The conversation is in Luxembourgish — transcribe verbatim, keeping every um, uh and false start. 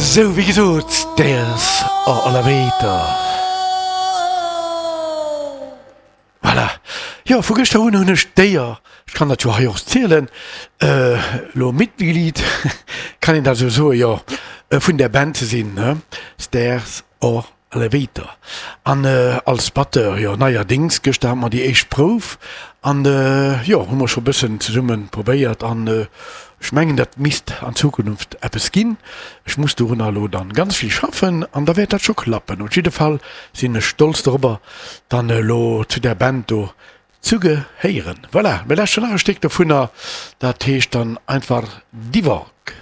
Sou, wéi gesot, Stairs or Elevator. Voilà. Jo, vu gëschter un hunn ech d'Éier, ech kann dat jo hei och zielen, elo Mitglied, kann een dat esou soen, jo, vun där Band ze sinn, ne, Stairs or Elevator. An als Batteur, jo, neierdéngs, gëschter hate mer déi éischt Prouf an, jo, hu mer scho bëssen zesumme probéiert an ech mengen, dat misst an Zukunft eppes ginn. Ech muss dorunner elo dann ganz vill schaffen an da wäert dat scho klappen. Op jidde Fall sinn ech stolz dorobber, dann elo zu där Band do zu gehéieren. Voilà, mir lauschteren nach e Stéck dovunner, dat heescht dann einfach Divorc.